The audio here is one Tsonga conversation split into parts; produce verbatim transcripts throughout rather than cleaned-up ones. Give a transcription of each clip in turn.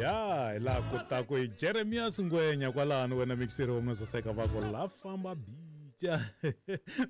Ya hi laha kotaku hi Jeremias Ngwenya kwalano wena mixeri wa saseka va ku la famba bica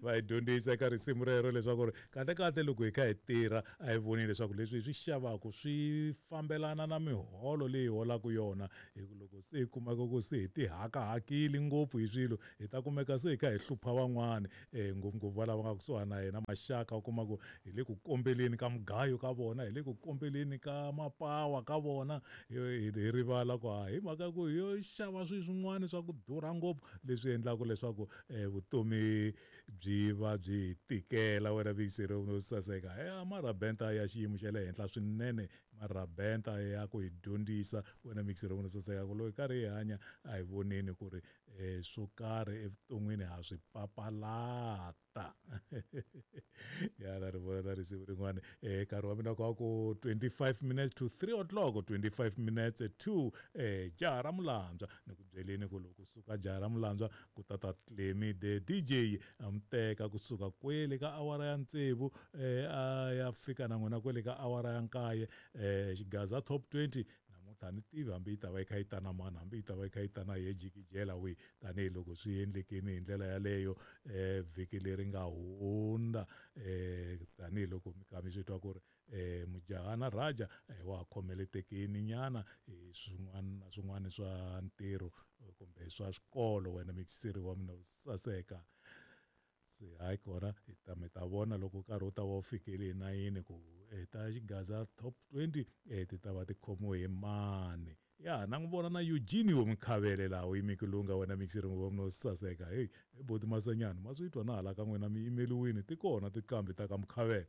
va hi dyondzisa eka risimu rero leswaku ri kahle kahle loko hi kha hi tirha a hi voni leswaku leswi hi swi xavaku swi fambelana na miholo leyi holaka yona hi ku loko se hi kumeka ku se hi tihakahakile ngopfu hi swilo hi ta kumeka se hi kha hi hlupha van'wani um ngopfungopfu va lava nga kusuhana na hina maxaka u kuma ku hi le ku kombeleni ka mugayo ka vona hi le ku kombeleni ka mapawa ka vona hi hi rivala ku ha hi mhaka ku hi yo xava swilo swin'wana swa ku durha ngopfu leswi endlaka leswaku um vutomi byi va byi hi tikela wena vikiseri no saseka ya marabenta ya xiyimo xa le henhla swinene marabenta ya ku hi dyondzisa wena mixeri no saseka ku loko hi karhi hi hanya a hi voneni ku ri um swo karhi evuton'wini ha swi papalata ya na ri vona na risimu rin'wana um nkarhi wa mina ku ku twenty-five minutes to three o'clock twenty-five minutes to um jaha ra mulandzwa ni ku byeleni ku loko kusuka jaha ra mulandzwa ku ta ta Clemy the D J a mi teka kusuka kwele ka awara ya tsevu um a ya fika na n'wina kwele ka awara ya nkaye um xigaza top twenty namuntlha a ni tivi hambi yi ta va yi kha yi ta na mani hambi yi ta va yi kha yi ta na ye jikijela wihi tanihiloko swi endlekini hi ndlela yaleyo um vhiki leri nga hundza um tanihiloko mi kha mi swi twa ku ri um mujahana Raja wa ha khomeletekini nyana hi swin'wana na swin'wana swa ntirho kumbe swa swikolo wena mixeri wa mina saseka se hayi kona hi ta mi ta vona loko nkarhi wu ta va wu fikile hi nayini ku ta xigaza top twenty eh ti ta va ti khomiwe hi mani ya na n'wi vona na Eugenio Mkhavele laha u yime ku lunga wena mixeri wa mina saseka hey boti Masanyana ma swi twa na hala ka n'wina mi yimeliwini ti kona tikambi ta ka Mkhavele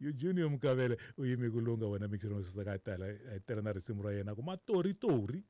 Eugenio Mkhavele u yime ku lunga wena mixeri wa saseka a tela a tela na risimu ra yena ku matoritori.